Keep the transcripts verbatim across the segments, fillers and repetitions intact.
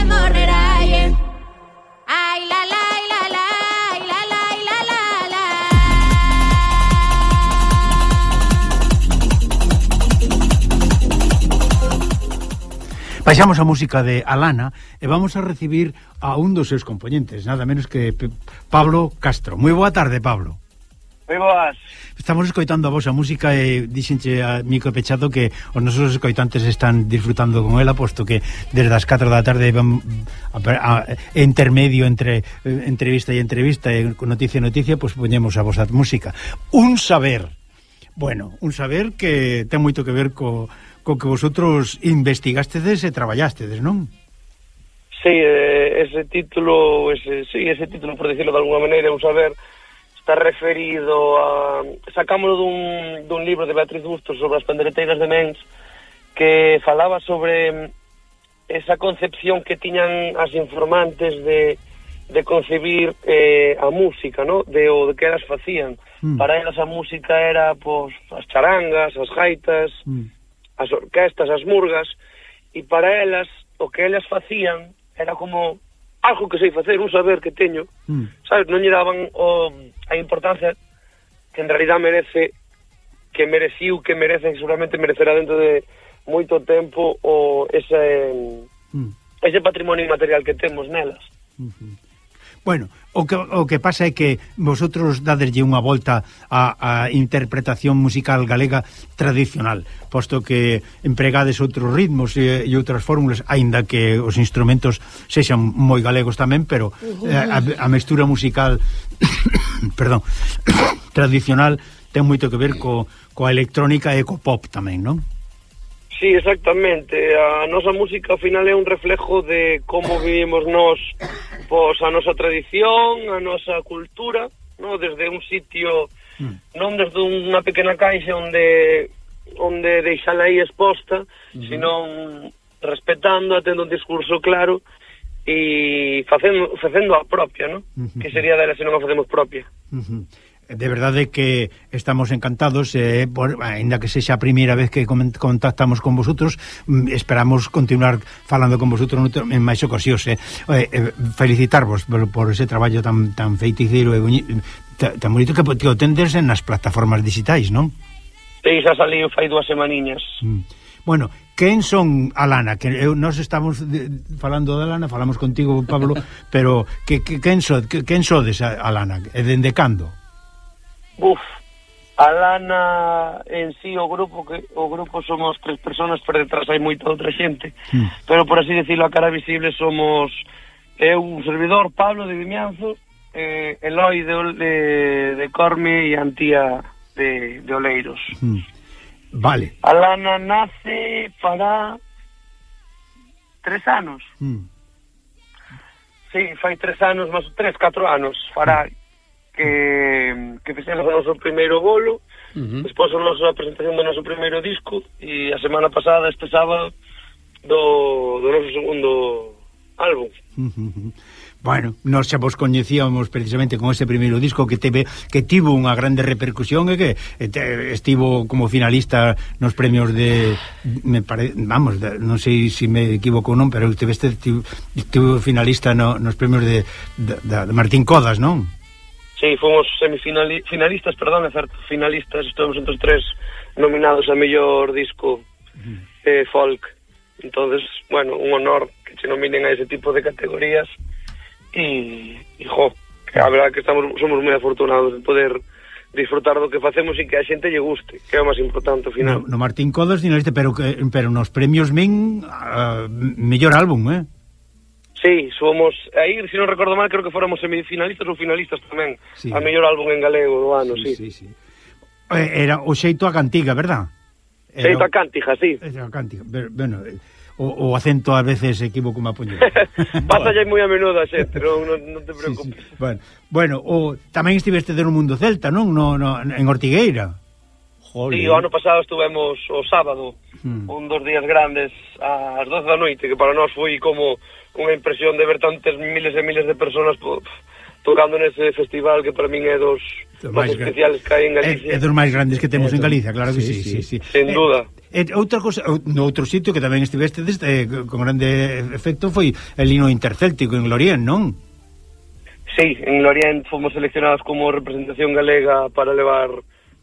la morreraye. Ay, la, la, la, la, la, la, la, la, la. Baixamos a música de Alana e vamos a recibir a un dos seus componentes, nada menos que Pablo Castro. Moi boa tarde, Pablo. Moi boas. Estamos escoitando a vosa música e dixenche a micro pechado que os nosos escoitantes están disfrutando con ela, posto que desde as catro da tarde van a, a, a intermedio entre eh, entrevista e entrevista e noticia e noticia, pois poñemos a vosa música. Un saber, bueno, un saber que ten moito que ver co, co que vosotros investigastedes e traballástedes, non? Sí, eh, ese título, ese, sí, ese título, por decirlo de alguna maneira, un saber, está referido a... Sacámoslo dun, dun libro de Beatriz Bustos sobre as pandereteiras de Mens, que falaba sobre esa concepción que tiñan as informantes de, de concebir eh, a música, ¿no? De o de que elas facían. Mm. Para elas a música era, pues, as charangas, as gaitas, mm. as orquestas, as murgas, e para elas, o que elas facían era como algo que sei facer, un saber que teño, mm. sabes, non lle daban o, a importancia que en realidad merece, que mereciu, que merece, que seguramente merecerá dentro de moito tempo o ese mm. ese patrimonio inmaterial que temos nelas. Uh-huh. Bueno, o que, o que pasa é que vosotros dadeslle unha volta a, a interpretación musical galega tradicional, posto que empregades outros ritmos e, e outras fórmulas, aínda que os instrumentos sexan moi galegos tamén, pero uh-huh. a, a mestura musical perdón, tradicional ten moito que ver co, coa electrónica e co pop tamén, non? Sí, exactamente. A nosa música ao final é un reflejo de como vivimos nós, pois a nosa tradición, a nosa cultura, no, desde un sitio, mm. non desde unha pequena caixa onde onde deixala aí exposta, mm-hmm. senón respetando, tendo un discurso claro e facendo facendo a propia, no? Mm-hmm. Que sería dela se non a facemos propia. Mm-hmm. De verdade que estamos encantados, eh, por, ainda que sexa a primeira vez que contactamos con vosotros, esperamos continuar falando con vosotros en máis ocasións. Eh. Eh, felicitarvos por, por ese traballo tan tan feiticeiro e tan bonito que, que o tendes nas plataformas digitais, non? Sí, xa saliu fai dúas semaniñas. Mm. Bueno, quen son Alana? Que eu, nós estamos de, falando de Alana, falamos contigo, Pablo, pero que, que, quen, so, que, quen sodes Alana? E dende cando? Uf, Alana en sí, o grupo que o grupo somos tres personas, por detrás hai moita outra xente, mm. pero por así decirlo, a cara visible somos eu, un servidor, Pablo de Vimianzo, eh, Eloi de, de, de Corme e Antía de, de Oleiros. Mm. Vale. Alana nace para tres anos. Mm. Sí, fai tres anos, máis tres, catro anos, fará... Mm. que, que fixemos o noso primeiro bolo, uh-huh. despois a nosa presentación do noso primeiro disco, e a semana pasada, este sábado, do, do noso segundo álbum. Uh-huh. Bueno, nós xa vos coñecíamos precisamente con ese primeiro disco que teve que tivo unha grande repercusión e que te, estivo como finalista nos premios de me pare, vamos, de, non sei se me equivoco ou non, pero teve este estivo finalista no, nos premios de, de, de Martín Codas, non? Sí, fomos semifinalistas, perdón, é certo, finalistas, estamos entre os tres nominados a mellor disco eh, folk. Entonces, bueno, un honor que se nominen a ese tipo de categorías e, e jo, que a verdade que estamos somos moi afortunados de poder disfrutar do que facemos e que a xente lle guste, que é o máis importante ao final. No, no Martín Codas finalista, pero que pero nos premios min uh, mellor álbum, eh? Sí, somos, aí, se non recordo mal, creo que fóramos semifinalistas ou finalistas tamén, sí. A mellor álbum en galego do ano, sí. Sí, sí, sí. Era o xeito a cantiga, verdad? Era xeito a cántiga, sí. Era a cántiga, bueno, o, o acento a veces equivoco má puño. Pasa ya moi a menudo a xente, non, non, non te preocupes. Sí, sí. Bueno, bueno, o, tamén estiveste no mundo celta, non? No, no, en Ortigueira. Joder. Sí, o ano pasado estuvemos o sábado, hmm. un dos días grandes, ás doce da noite, que para nós foi como unha impresión de ver tantas miles e miles de personas, pues, tocando nese festival que para min é dos, dos máis especiales que hai en Galicia. É, é dos máis grandes que temos en Galicia, claro que sí, sí, sí, sí. Sin duda. E, e outra cosa, no outro sitio que tamén estiveste eh, con grande efecto foi el hino intercéltico en Lorient, non? Sí, en Lorient fomos seleccionados como representación galega para levar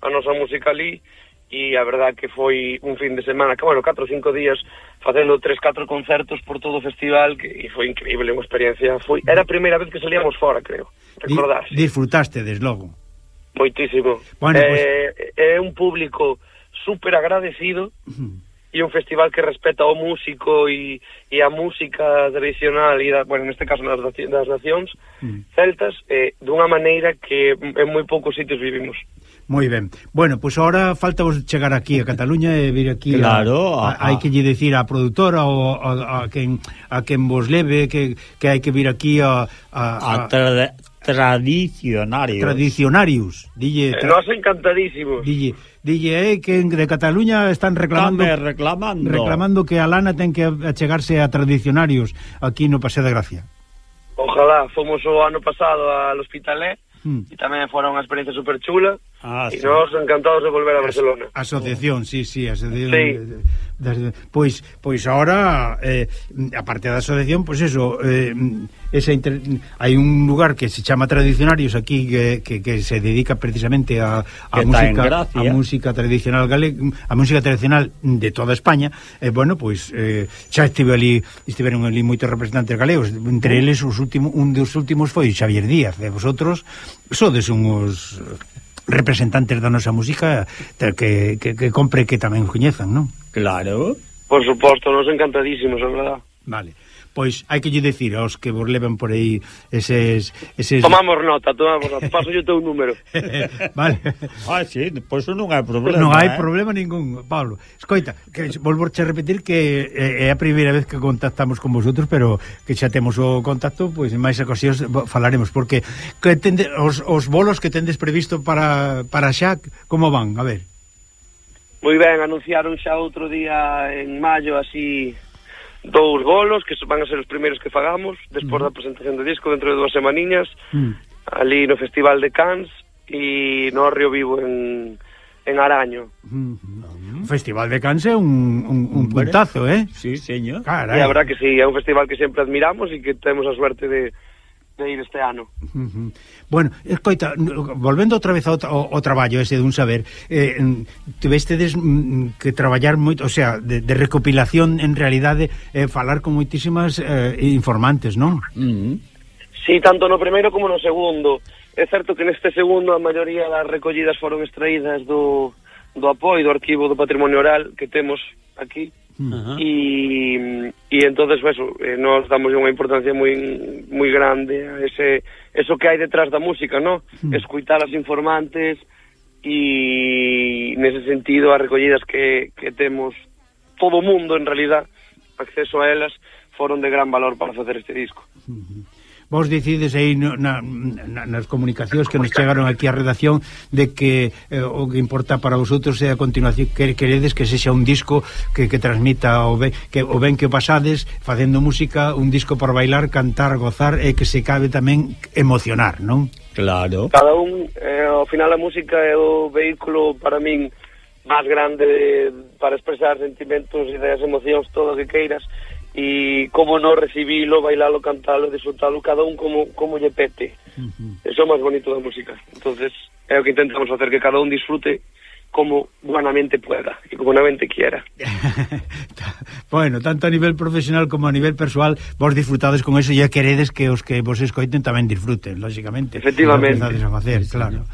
a nosa música ali, e a verdad que foi un fin de semana, que bueno, catro ou cinco días facendo tres, catro concertos por todo o festival, que e foi increíble, unha experiencia. Foi, era a primeira vez que salíamos fora, creo, recordar. Di, disfrutaste, desde logo. Moitísimo. Bueno, é, pues... é un público super agradecido, uh-huh. e un festival que respeta o músico e, e a música tradicional, e da, bueno, neste caso das, das nacións uh-huh. celtas, eh, dunha maneira que en moi poucos sitios vivimos. Moi ben. Bueno, pois pues ahora falta vos chegar aquí a Cataluña e vir aquí. Claro, a, a, hai que lle dicir á produtora ou a, a quen a quen vos leve que, que hai que vir aquí a a, a, a tra tradicionarios. Tradicionarios. Dille, tra Nos encantadísimos. Dille, dille eh, que de Cataluña están reclamando reclamando reclamando que a lana ten que achegarse a tradicionarios aquí no Paseo de Gracia. Ojalá, fomos o ano pasado al Hospitalet. Hmm. E tamén fora unha experiencia super chula, ah, e sí. Nos encantados de volver a Barcelona. A asociación, sí, sí, asociación. Sí. De, de, pois, pois ahora eh, aparte da asociación, pois eso, eh, esa inter... hai un lugar que se chama Tradicionarios aquí que, que, que se dedica precisamente a, a música, a música tradicional galega, a música tradicional de toda España. E eh, bueno, pois eh, xa estive ali, estiveron ali moitos representantes galegos, entre eles os últimos, un dos últimos foi Xavier Díaz. E vosotros sodes uns representantes da nosa música que, que, que compre que tamén coñezan, non? Claro. Por suposto, nos encantadísimos, é verdad. Vale. Pois hai que lle dicir aos que vos levan por aí eses... eses... Tomamos nota, tomamos nota, paso yo teu número. Vale. Ah, sí, pois pues non hai problema. Non hai eh? problema ningún, Pablo. Escoita, que volvorche a repetir que é a primeira vez que contactamos con vosotros, pero que xa temos o contacto, pois en máis ocasións falaremos, porque que tende, os, os bolos que tendes previsto para, para xa, como van? A ver. Moi ben, anunciaron xa outro día en maio, así... dous bolos que van a ser os primeiros que fagamos despois uh -huh. da presentación do disco dentro de dúas semaniñas uh -huh. ali no Festival de Cans e no Río Vivo en, en Araño. uh -huh. O Festival de Cans é un, un, un puntazo, eh? Sí, señor. Carai. E a verdad que sí, é un festival que sempre admiramos e que temos a suerte de de ir este ano. Uh -huh. Bueno, escoita, volvendo outra vez ao, ao, ao traballo ese dun saber, eh, tivestedes mm, que traballar moito, o sea, de, de recopilación en realidade, eh, falar con moitísimas eh, informantes, non? Uh -huh. Sí, tanto no primeiro como no segundo. É certo que neste segundo a maioría das recollidas foron extraídas do, do apoio do Arquivo do Patrimonio Oral que temos aquí. Uh-huh. e, e entonces pues, eh, nos damos unha importancia moi moi grande a ese eso que hai detrás da música, ¿no? Uh-huh. Escuitar as informantes e nese sentido as recollidas que, que temos todo o mundo en realidad acceso a elas foron de gran valor para facer este disco. Uh-huh. Vos decides aí no, na, na, nas comunicacións que nos chegaron aquí á redacción de que eh, o que importa para vosotros é a continuación, que queredes que sexa un disco que, que transmita o ben que, o ben que o pasades facendo música, un disco para bailar, cantar, gozar e que se cabe tamén emocionar, non? Claro. Cada un, eh, ao final a música é o vehículo para min máis grande de, para expresar sentimentos, ideas, emocións, todo o que queiras. E como non recibilo, bailalo, cantalo, disfrutalo, cada un como, como lle pete. Uh-huh. Eso é o máis bonito da música. Entonces é o que intentamos facer, que cada un disfrute como buenamente pueda e como buenamente quiera. Bueno, tanto a nivel profesional como a nivel persoal vos disfrutades con eso e queredes que os que vos escoiten tamén disfruten, lógicamente. Efectivamente. A facer, claro.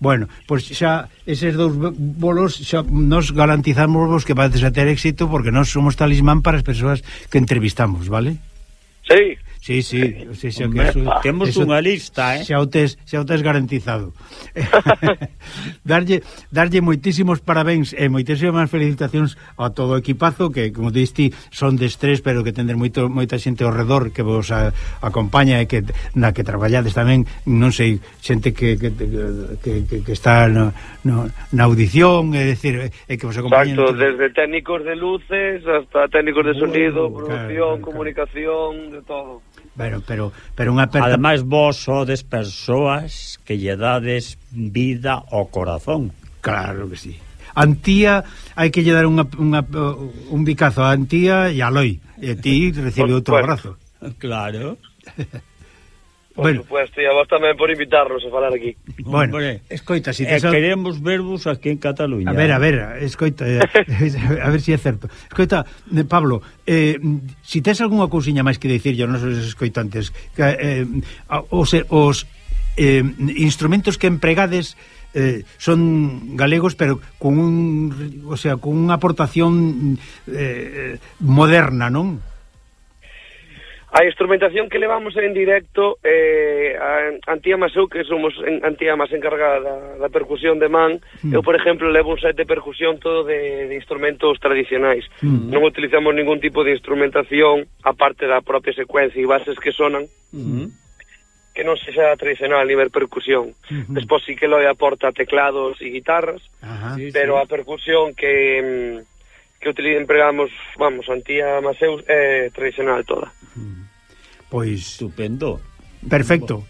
Bueno, pois pues xa eses dous bolos xa nos garantizamos vos que vais a ter éxito porque nós somos talismán para as persoas que entrevistamos, vale? Sí. Sí, sí, o sea, xa Hombre, que eso, temos eso, unha lista, eh? Xa o tes, xa o tes garantizado. darlle, darlle moitísimos parabéns e moitísimas felicitacións a todo o equipazo que, como diste, son de estrés, pero que tendes moito, moita xente ao redor que vos a, acompaña e que na que traballades tamén, non sei, xente que, que, que, que, que está no, no, na audición, é dicir, é que vos acompañan. Exacto, desde técnicos de luces hasta técnicos de sonido, uh, producción, claro, claro, comunicación, de todo. Bueno, pero, pero unha aperta... Ademais, vos sodes persoas que lle dades vida ao corazón. Claro que sí. Antía, hai que lle dar unha, unha, un bicazo a Antía e a Loi. E ti recibe outro Bueno. abrazo. Claro. Por Bueno. supuesto, e a vos tamén por invitarnos a falar aquí. Bueno, Hombre, escoita, si e tes... al- queremos vervos aquí en Cataluña. A ver, a ver, escoita, eh, a ver se si é certo. Escoita, eh, Pablo, eh, si tes algunha cousiña máis que dicirlle aos nosos escoitantes, que, eh, os, os eh, instrumentos que empregades eh, son galegos, pero con un, o sea, con unha aportación eh, moderna, non? A instrumentación que levamos en directo, eh, a Antía Masou, que somos en, Antía máis encargada da, da percusión de man, mm. eu, por exemplo, levo un set de percusión todo de, de instrumentos tradicionais. Mm. Non utilizamos ningún tipo de instrumentación, aparte da propia secuencia e bases que sonan, mm. que non sexa tradicional a nivel percusión. Mm-hmm. Despois sí que lo aporta teclados e guitarras, Ajá. Sí, pero sí. a percusión que... que utilizamos, empregamos, vamos, Antía Maseu é tradicional toda. Pois Estupendo. perfecto.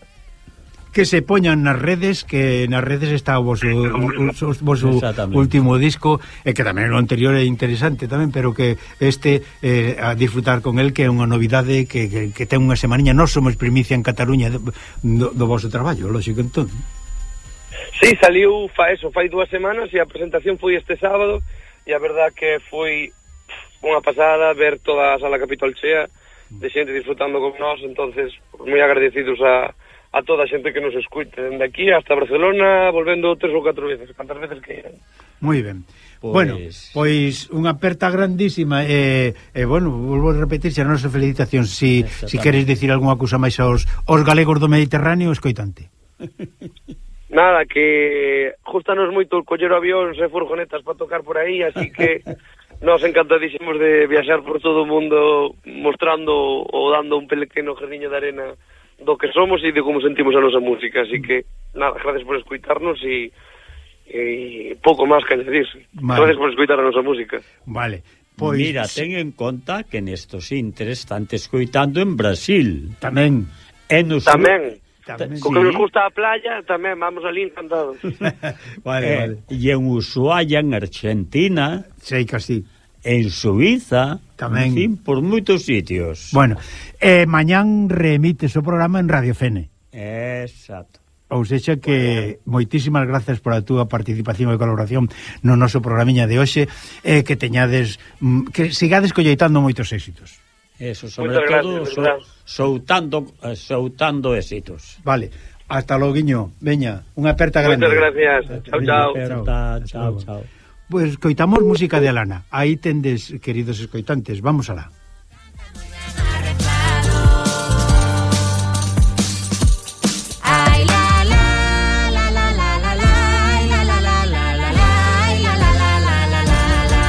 Que se poñan nas redes, que nas redes está o vosso, o, o voso último disco, e que tamén o anterior é interesante tamén, pero que este eh, a disfrutar con el, que é unha novidade que, que, que ten unha semaniña. Nós somos primicia en Cataluña do, do, do voso traballo, lógico, entón. Sí, saliu fa eso, fai dúas semanas e a presentación foi este sábado e a verdad que foi unha pasada ver toda a sala Capitol chea de xente disfrutando con nós, entonces moi agradecidos a, a toda a xente que nos escuite dende aquí hasta Barcelona, volvendo tres ou catro veces, cantas veces que iran. Moi ben. Pois... Bueno, pois unha aperta grandísima e, e bueno, volvo a repetir xa a nosa felicitación. Si, si queres dicir algunha cousa máis aos, aos galegos do Mediterráneo, escoitante. Nada, que justanos moito coller avións e furgonetas para tocar por aí, así que nos encantadísimos de viaxar por todo o mundo mostrando ou dando un pequeno jardiño de arena do que somos e de como sentimos a nosa música, así que nada, gracias por escuitarnos e, e pouco máis que añadir. Vale. Gracias por escuitar a nosa música. Vale. Pois... Mira, ten en conta que nestos intres están te escoitando en Brasil. Tamén. E nos... Tamén. Tamén. Co que nos gusta a playa, tamén vamos ali encantados. Vale, eh, vale. E en Ushuaia, en Argentina, Sei que así. en Suiza, Tamén. en fin, por moitos sitios. Bueno, eh, mañán reemites o programa en Radio Fene. Exacto. Ou sexa que moitísimas gracias por a túa participación e colaboración no noso programiña de hoxe, e eh, que teñades, mm, que sigades colleitando moitos éxitos. Eso, sobre Muchas todo, gracias, so, soutando, eh, soutando éxitos. Vale, hasta loguiño, veña, unha aperta grande. Moitas gracias. Chao, chao. Chao, chao, chao. Pois pues, coitamos música de Alana. Aí tendes, queridos escoitantes, vamos alá. Ay, la, la, la, la, la, la, la, la, la, la, la, la, la, la, la, la, la, la, la.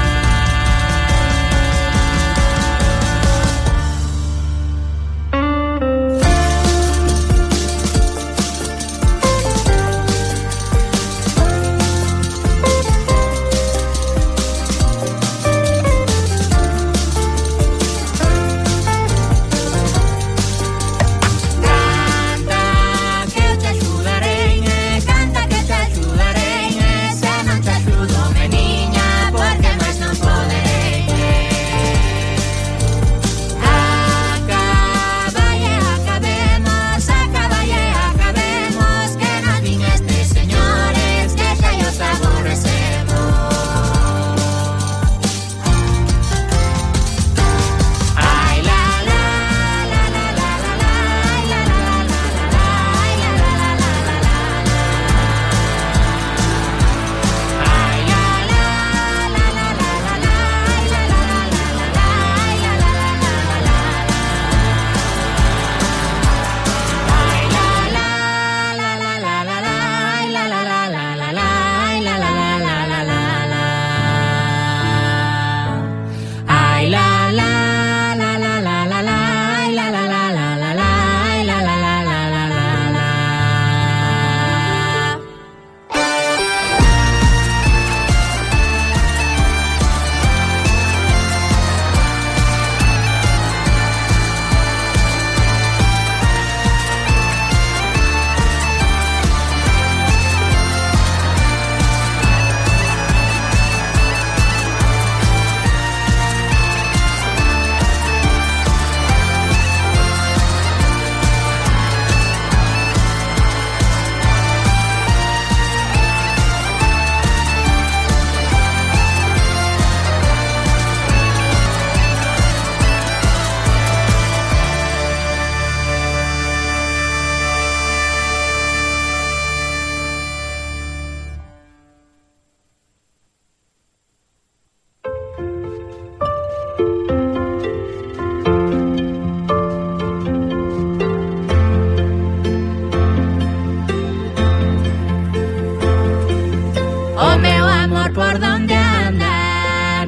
O meu amor por donde anda,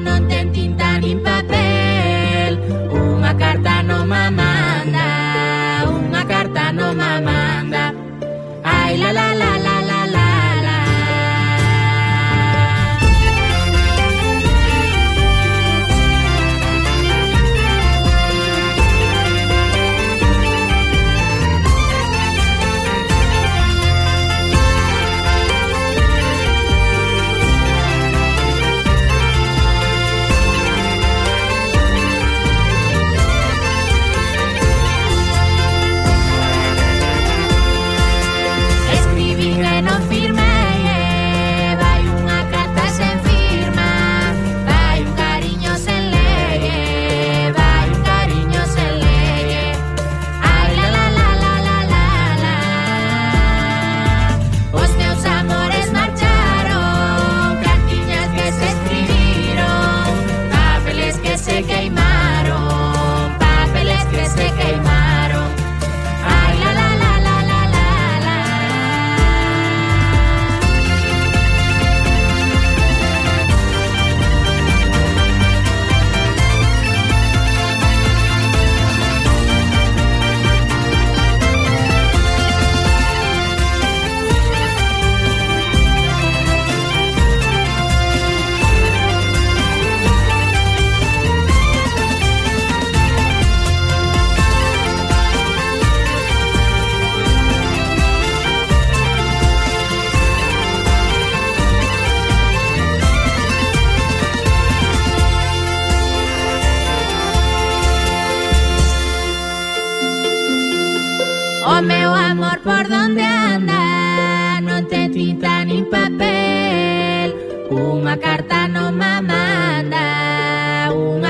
non ten tinta nin papel, unha carta non ma manda, unha carta non ma manda. Ai la la la la la la la. Escribín e non firmei, eh, vai unha carta sen firma, vai un cariño sen legue, vai un cariño sen legue. Ai la la la la la la la. Os meus amores marcharon, cartiñas que se escribiron, papeles que se queimaron, papeles que se queimaron. Ai la la la la la la la. O meu amor por donde anda, non ten tinta nin papel, unha carta non ma manda, unha